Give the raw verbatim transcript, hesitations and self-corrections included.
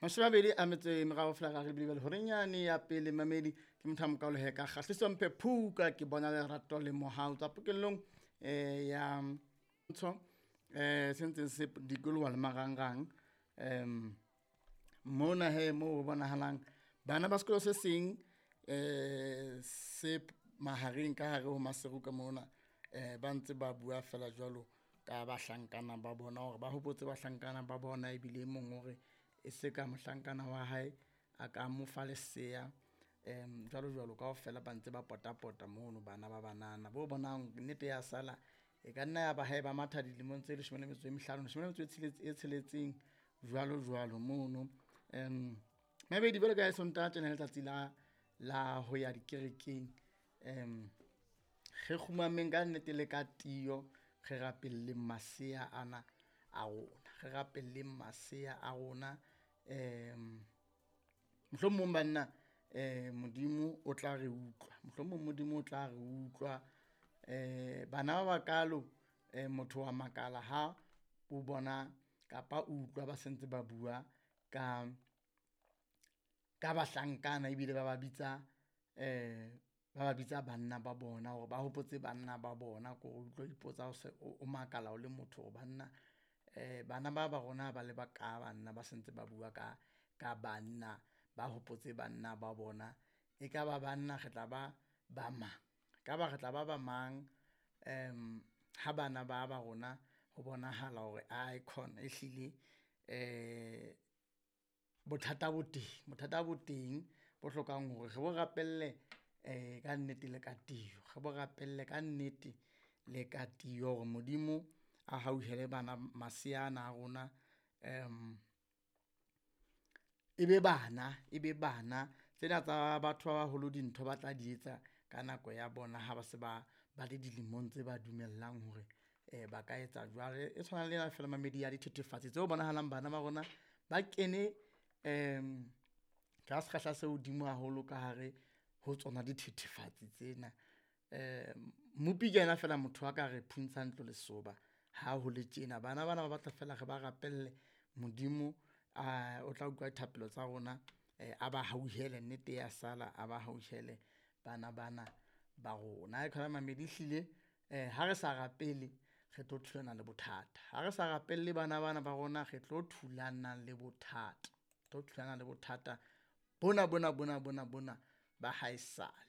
Mashome a mabedi a metso e meraro fela ka re lebile horeng yane ya pele mamedi ke motho a mokalo he ka kgahliso mphe phuka ke bona lerato le mohau tsa pokellong eh ya ntsho eh se ntseng se dikoloha le marangrang em mona he mo bonahalang bana ba sekolo se seng eh se mahareng ka hare ho Maseru ka mona eh ba ntse ba bua fela jwalo ka bahlankana ba bona hore ba hopotse bahlankana ba bona ebile e mong hore e se ka mohlankana wa hae a ka mo fa lesea em jwalo jwalo kaofela ba ntse ba potapota mono bana ba banana bo bonang nnete ya sala e ka nna ya ba hae ba matha dilemong tse leshome le metso e mehlano leshome le metso e tsheletse e tsheletseng jwalo jwalo mono. Em mabedi jwalo ka Sontaha tjena letsatsi la la ho ya dikerekeng em re kgumameng ka nnete le ka tiyo re rapelleng masea ana a rona, re rapelleng masea a rona. Em mohlomong banna eh Modimo o tla re utlwa, mohlomong Modimo o tla re utlwa. Eh bana ba bakalo eh motho wa makala ha o bona kapa o utlwa ba sentse ba bua ka ka bahlankana ebile ba ba bitsa eh ba ba bitsa banna ba bona hore ba hopotse banna ba bona. Ko utlwa o ipotsa o se o makala o le motho hore banna eh bana ba ba rona ba le ba ka banna ba sentse ba bua ka ka banna ba hopotse banna ba bona. Ekaba banna re tla ba ba mang, ekaba re tla ba ba mang em ha bana ba ba rona ho bonahala hore aekhona ehlile eh bothata bo teng, bothata bo teng bo hlokang hore re bo rapelle eh ka nnete le ka tiyo, re bo rapelle ka nnete le ka tiyo hore Modimo a hauhele bana masea ana a rona. Em e be bana, e be bana tsena tsa batho ba baholo dintho ba tla di etsa ka nako ya bona ha ba se ba ba le dilemong tse ba dumellang hore eh ba ka etsa jwalo. E tshwana le ena fela mamedi ya dithethefatsi tseo bonahalang bana ba rona ba kene em ka sekgahla se hodimo haholo ka hare ho tsona dithethefatsi tsena. Em Mmopi ke yena fela motho a ka re phuntshang ntlo lesoba ha ho le tjena. Bana bana ba batla fela re ba rapelle Modimo a o tla utlwa dithapelo tsa rona, a ba hauhele nnete ya sala, a ba hauhele bana bana ba rona. Ae mamedi ehlile eh ha re sa rapele re tlo thulana le bothata, ha re sa rapelle bana bana ba rona re tlo thulana le bothata, tlo thulana le bothata bona bona bona bona bona ba haesale.